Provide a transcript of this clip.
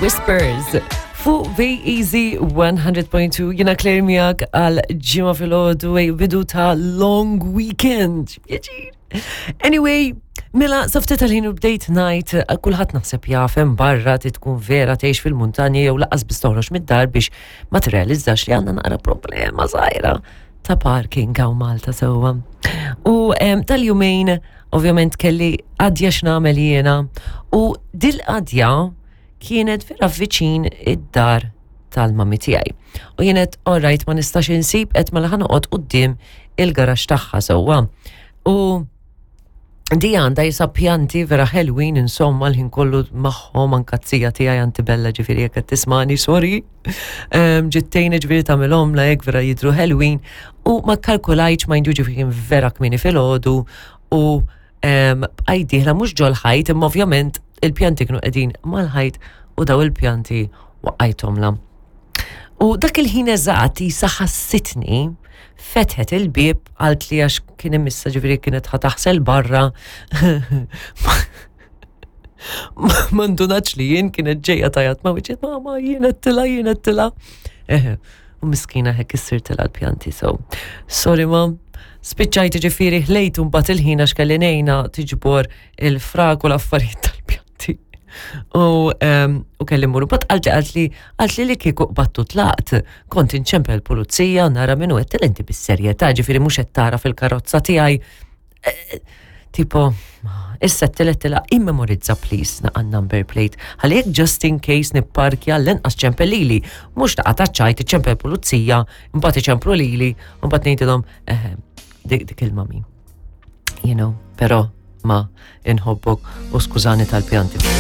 Whispers fuq Easy 100.2 jina Claire miegħek għal ġimgħa filgħodu bidu ta' long weekend. Pjaċir. Anyway, mela safti tal-ħin u bdejt ngħid eh, kulħadd naħseb jafem barra ti tkun vera tgħix fil-muntanja jew laqas biss toħroġ mid-dar biex ma tirrealizzax li għandna naqra problema żgħira ta' parking hawn Malta sewwa. U tal-jumejn ovvjament kelli qadja x'nagħmel jiena u dil-qadja kienet vera viċin id-dar tal-mami tiegħi. U jienet alright ma nistax insib qed mela ħa noqgħod quddiem il-garaxx tagħha sewwa. U di għandha jisa pjanti vera ħelwin insomma l-ħin kollu magħhom anka t-tija tiegħi anti bella ġifieri jekk qed tismani sorry. Ġittejn ġifieri tagħmilhom la jekk vera jidru ħelwin u ma kalkulajtx ma jindu ġifieri kien vera kmieni filgħodu u bqajt dieħla mhux ġol-ħajt imma ovvjament il-pjanti kienu qegħdin mal-ħajt u daw il-pjanti waqqajthomlha. U dak il-ħin eżatt jisa ħassitni fetħet il-bieb għalt li għax kien imissa ġifieri kienet ħa taħsel barra. Ma ndunax li jien kienet ġejja tajat ma wiċċi mama jien qed jien qed Eħe, u miskina hekk issirtilha l-pjanti so. Sorry ma, spiċċajt ġifieri ħlejt mbagħad il-ħin għax kelli ngħinha tiġbor il-frak u l-affarijiet tal-pjanti. U, um, u kelli mmur bat qalti qaltli qaltli li kieku qbattu tlaqt, kont inċempel pulizija nara minnu qed inti bis-serjetà, ġifieri mhux qed tara fil-karozza tiegħi. Eh, tipo, issa t-telet tela immemorizza please naqa number plate. Għalli jekk just in case nipparkja l-inqas ċempel lili, mhux taqa' taċċajt iċempel pulizija, mbagħad iċemplu lili, mbagħad ngħidilhom eh, dik il-mami. You know, pero ma inħobbok u skużani tal-pjanti.